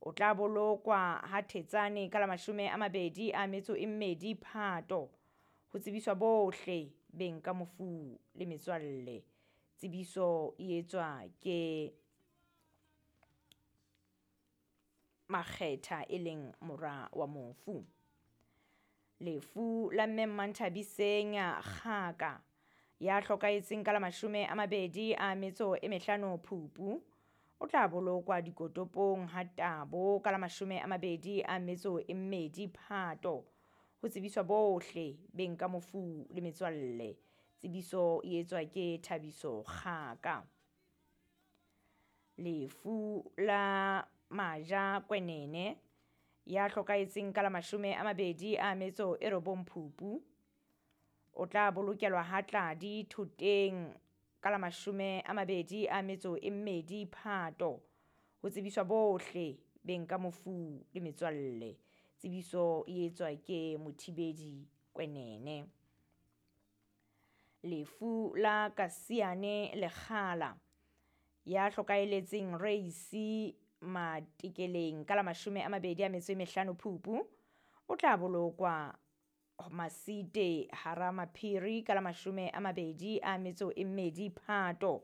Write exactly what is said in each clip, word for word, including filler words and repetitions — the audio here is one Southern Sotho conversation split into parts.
O tla bolokwa ha Thetsane ka la mashome a mabedi a metso e mmedi Phato. Ho tsebiswa bohle beng ka mofu le metswalle. Tsebiso e etswa ke Makgetha e leng mora wa mofu. Lefu la mme Mmanthabiseng Kgaka ya hlokahetseng ka la mashome a mabedi a metso e mehlano Phupu, o tla bolokwa dikotopong ha Tabo ka la mashome a mabedi a metso e mmedi Phato. Ho tsebiswa bohle beng ka mofu le metswalle. Tsebiso e etswa ke Thabiso Kgaka. Lefu la Maja Kwenene ya hlokahetseng ka la mashome a mabedi a metso e robong Phupu, o tla bolokelwa ha Tladi Thoteng ka la mashome a mabedi a metso e mmedi Phato. Ho tsebiswa bohle beng ka mofu le metswalle. Tsebiso e etswa ke Mothibedi Kwenene. Lefu la Kasiane Lekgala ya hlokahelletseng Reisi Matekeleng ka la mashome a mabedi a metso e mehlano Phupu, o tla bolokwa Masite hara Maphiri ka la mashome a mabedi a metso e mmedi Phato.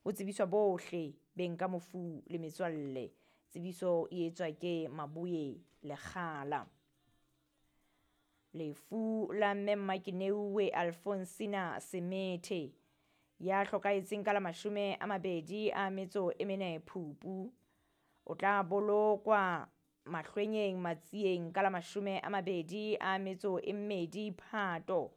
Ho tsebiswa bohle beng ka mofu le metswalle. Tsebiso e etswa ke Maboye Lekgala. Lefu la mme Mmakineuwe Alfonsina Semethe ya hlokahetseng ka la mashome a mabedi a metso e mene Phupu, o tla bolokwa Mahlwenyeng Matsieng ka la mashome a mabedi a metso e mmedi Phato.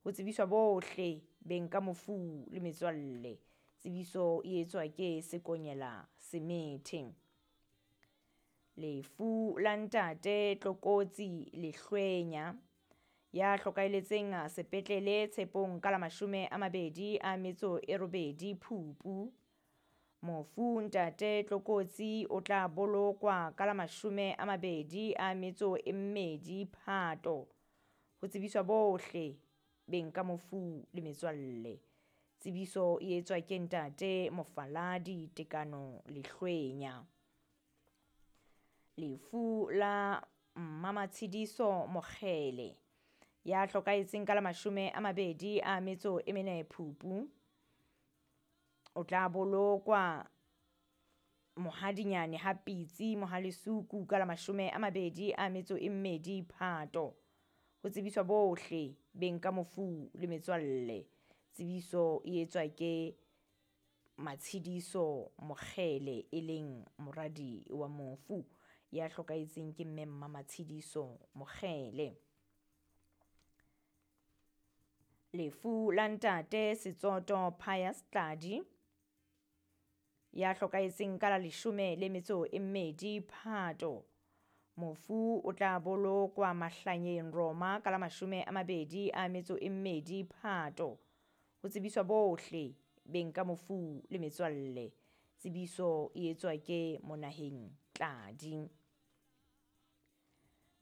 Ho tsebiswa bohle beng ka mofu le metswalle. Tsebiso e etswa ke Sekonyela Semethe. Lefu la ntate Tlokotsi Lehlwenya ya hlokahelletseng sepetlele Tshepong ka la mashome a mabedi a metso e robedi Phupu. Mofu ntate Tlokotsi o tla bolokwa ka la mashome a mabedi a metso e mmedi Phato. Ho tsebiswa bohle beng ka mofu le metswalle. Tsebiso e etswa ke ntate Mofaladi Tekano Lehlwenya. Lefu la Mmamatshediso Mokgele ya hlokahetseng ka la mashome a mabedi a metso e mene Phupu, o tla bolokwa Mohadinyane ha Pitsi Mohalesuku ka la mashome a mabedi a metso e mmedi Phato. Ho tsebiswa bohle beng ka mofu le metswalle. Tsebiso e etswa ke Matshediso Mokgele e leng moradi wa mofu ya hlokahetseng ke mme Mmamatshediso Mokgele. Lefu la ntate Setsoto Pius Tladi ya hlokahetseng ka la leshome le metso e mmedi Phato. Mofu o tla bolokwa Mahlanyeng Roma ka la mashome a mabedi a metso e mmedi Phato. Ho tsebiswa bohle beng ka mofu le metswalle. Tsebiso e etswa ke Monaheng Tladi.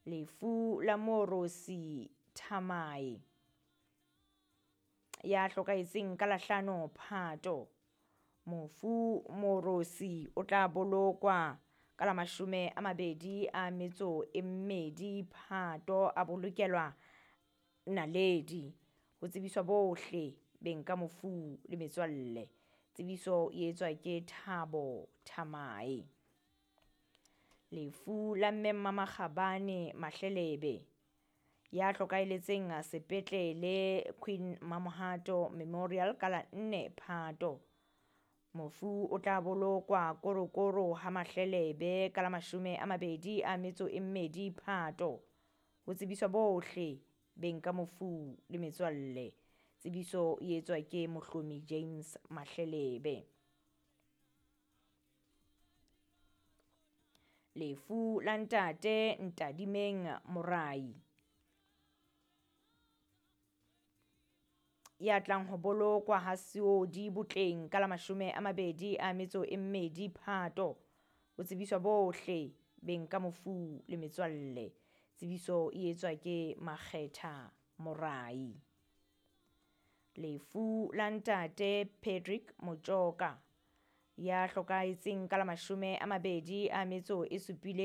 Lefu la Morosi Thamae ya hlokahetseng ka la hlano Phato. Mofu Morosi o tla bolokwa ka la mashome a mabedi a metso e mmedi Phato, a bolokelwa Naledi. Ho tsebiswa bohle beng ka mofu le metswalle. Tsebiso e etswa ke Thabo Thamae. Lefu la mme Mmamakgabane Mahlelebe ya hlokahelletseng sepetlele Queen Mamohato Memorial ka la nne Phato. Mofu o tla bolokwa Korokoro ha Mahlelebe ka la mashome a mabedi a metso e mmedi Phato. Ho tsebiswa bohle beng ka mofu le metswalle. Tsebiso e etswa ke Mohlomi James Mahlelebe. Lefu la ntate Ntadimeng Morai ya tlang ho bolokwa ha Seodi Botleng ka la mashome a mabedi a metso e mmedi Phato. Ho tsebiswa bohle beng ka mofu le metswalle. Tsebiso e etswa ke Makgetha Morai. Lefu la ntate Patrick Motjoka ya hlokahetseng ka la mashome a mabedi a metso e supileng.